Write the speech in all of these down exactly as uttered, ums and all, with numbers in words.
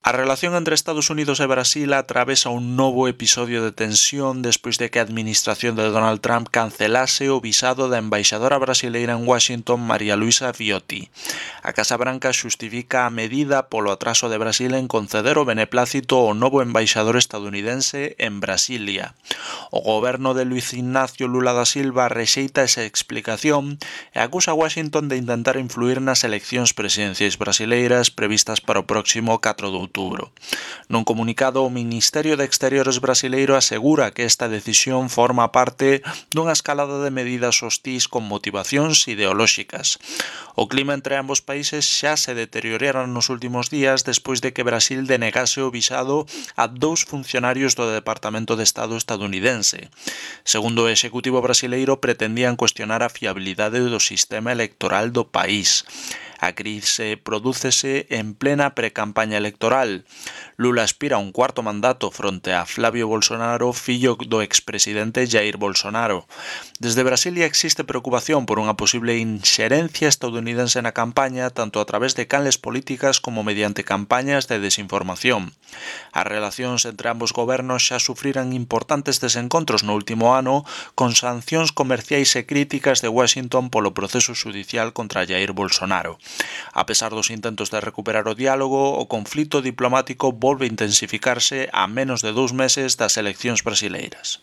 A relación entre Estados Unidos e Brasil atravesa un novo episodio de tensión despois de que a administración de Donald Trump cancelase o visado da embaixadora brasileira en Washington, María Luisa Viotti. A Casa Branca xustifica a medida polo atraso de Brasil en conceder o beneplácito ao novo embaixador estadounidense en Brasilia. O goberno de Luiz Ignacio Lula da Silva rexeita esa explicación e acusa a Washington de intentar influir nas eleccións presidenciais brasileiras previstas para o próximo catro de outubro. Nun comunicado, o Ministerio de Exteriores brasileiro asegura que esta decisión forma parte dunha escalada de medidas hostís con motivacións ideolóxicas. O clima entre ambos países xa se deteriorara nos últimos días despois de que Brasil denegase o visado a dous funcionarios do Departamento de Estado estadounidense. Segundo o Executivo brasileiro, pretendían cuestionar a fiabilidade do sistema electoral do país. A crise prodúcese en plena precampaña electoral. Lula aspira a un cuarto mandato fronte a Flavio Bolsonaro, fillo do expresidente Jair Bolsonaro. Desde Brasilia existe preocupación por unha posible inxerencia estadounidense na campaña, tanto a través de canles políticas como mediante campañas de desinformación. As relacións entre ambos gobernos xa sufriran importantes desencontros no último ano, con sancións comerciais e críticas de Washington polo proceso xudicial contra Jair Bolsonaro. A pesar dos intentos de recuperar o diálogo, o conflito diplomático volve a intensificarse a menos de dous meses das eleccións brasileiras.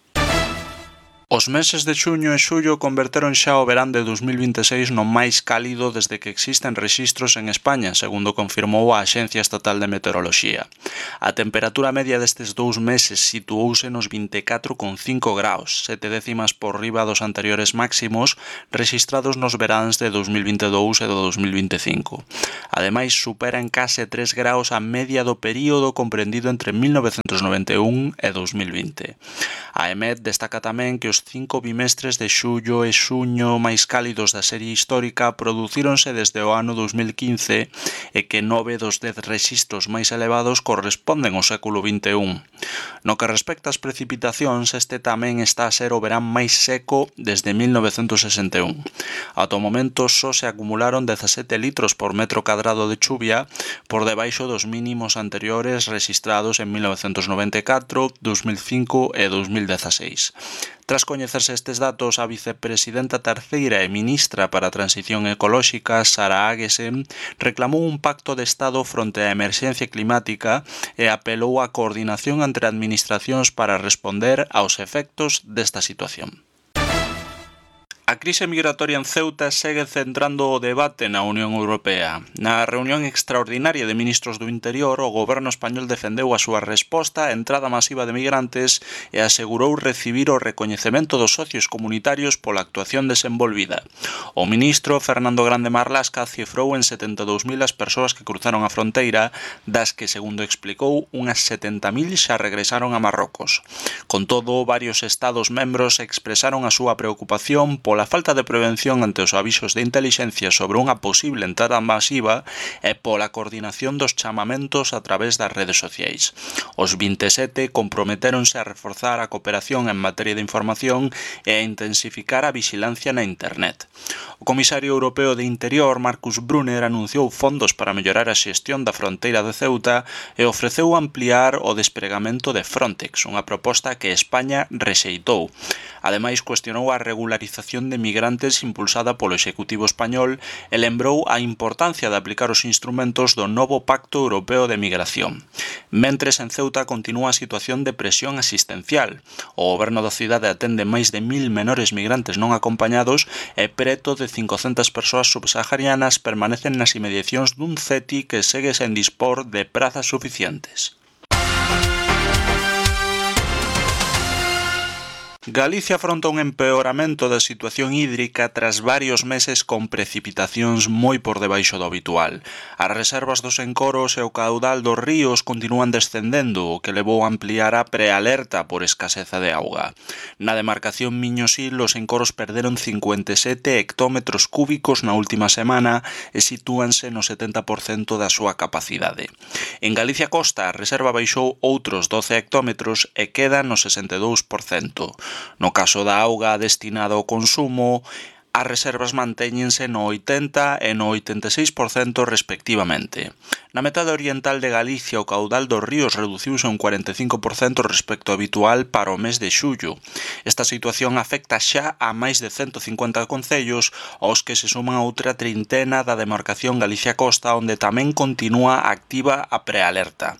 Os meses de xuño e xullo converteron xa o verán de dos mil vinte e seis no máis cálido desde que existen rexistros en España, segundo confirmou a Axencia Estatal de Meteoroloxía. A temperatura media destes dous meses situouse nos vinte e catro coma cinco graus, sete décimas por riba dos anteriores máximos rexistrados nos veráns de dos mil vinte e dous e do dos mil vinte e cinco. Ademais, supera en case tres graus a media do período comprendido entre mil novecentos noventa e un e dos mil vinte. A EMET destaca tamén que os cinco bimestres de xullo e xuño máis cálidos da serie histórica producíronse desde o ano dos mil quince e que nove dos dez rexistros máis elevados corresponden ao século vinte e un. No que respecta ás precipitacións, este tamén está a ser o verán máis seco desde mil novecentos sesenta e un. Ata o momento só se acumularon dezasete litros por metro cadrado de chuvia, por debaixo dos mínimos anteriores rexistrados en mil novecentos noventa e catro, dos mil cinco e dos mil dezaseis. Tras coñecerse estes datos, a vicepresidenta terceira e ministra para a Transición Ecolóxica, Sara Agesen, reclamou un pacto de Estado fronte á emerxencia climática e apelou á coordinación entre administracións para responder aos efectos desta situación. A crise migratoria en Ceuta segue centrando o debate na Unión Europea. Na reunión extraordinaria de ministros do Interior, o goberno español defendeu a súa resposta á entrada masiva de migrantes e asegurou recibir o recoñecemento dos socios comunitarios pola actuación desenvolvida. O ministro Fernando Grande Marlasca cifrou en setenta e dous mil as persoas que cruzaron a fronteira, das que, segundo explicou, unhas setenta mil xa regresaron a Marrocos. Con todo, varios estados membros expresaron a súa preocupación pola a falta de prevención ante os avisos de intelixencia sobre unha posible entrada masiva e pola coordinación dos chamamentos a través das redes sociais. Os vinte e sete comprometéronse a reforzar a cooperación en materia de información e a intensificar a vixilancia na internet. O comisario europeo de Interior, Markus Brunner, anunciou fondos para mellorar a xestión da fronteira de Ceuta e ofreceu ampliar o despregamento de Frontex, unha proposta que España rexeitou. Ademais, cuestionou a regularización de migrantes impulsada polo Executivo español e lembrou a importancia de aplicar os instrumentos do novo Pacto Europeo de Migración. Mentres, en Ceuta continúa a situación de presión asistencial. O goberno da cidade atende máis de mil menores migrantes non acompañados e preto de cincocentas persoas subsaharianas permanecen nas inmediacións dun C E T I que segue sen dispor de prazas suficientes. Galicia afronta un empeoramento da situación hídrica tras varios meses con precipitacións moi por debaixo do habitual. As reservas dos encoros e o caudal dos ríos continúan descendendo, o que levou a ampliar a prealerta por escaseza de auga. Na demarcación Miñosil, os encoros perderon cincuenta e sete hectómetros cúbicos na última semana e sitúanse no setenta por cento da súa capacidade. En Galicia Costa, a reserva baixou outros doce hectómetros e queda no sesenta e dous por cento. No caso da auga destinada ao consumo, As reservas mantéñense no oitenta e no oitenta e seis por cento respectivamente. Na metade oriental de Galicia o caudal dos ríos reduciuse un cuarenta e cinco por cento respecto ao habitual para o mes de xullo. Esta situación afecta xa a máis de cento cincuenta concellos, aos que se suman outra trintena da demarcación Galicia Costa, onde tamén continúa activa a prealerta.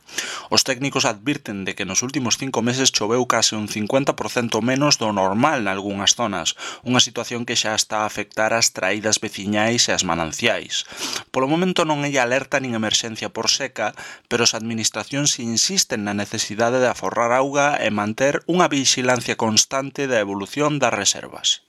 Os técnicos advirten de que nos últimos cinco meses choveu case un cincuenta por cento menos do normal nalgunhas zonas, unha situación que xa está a afectar as traídas veciñais e as mananciais. Polo momento non hai alerta nin emerxencia por seca, pero as administracións insisten na necesidade de aforrar auga e manter unha vixilancia constante da evolución das reservas.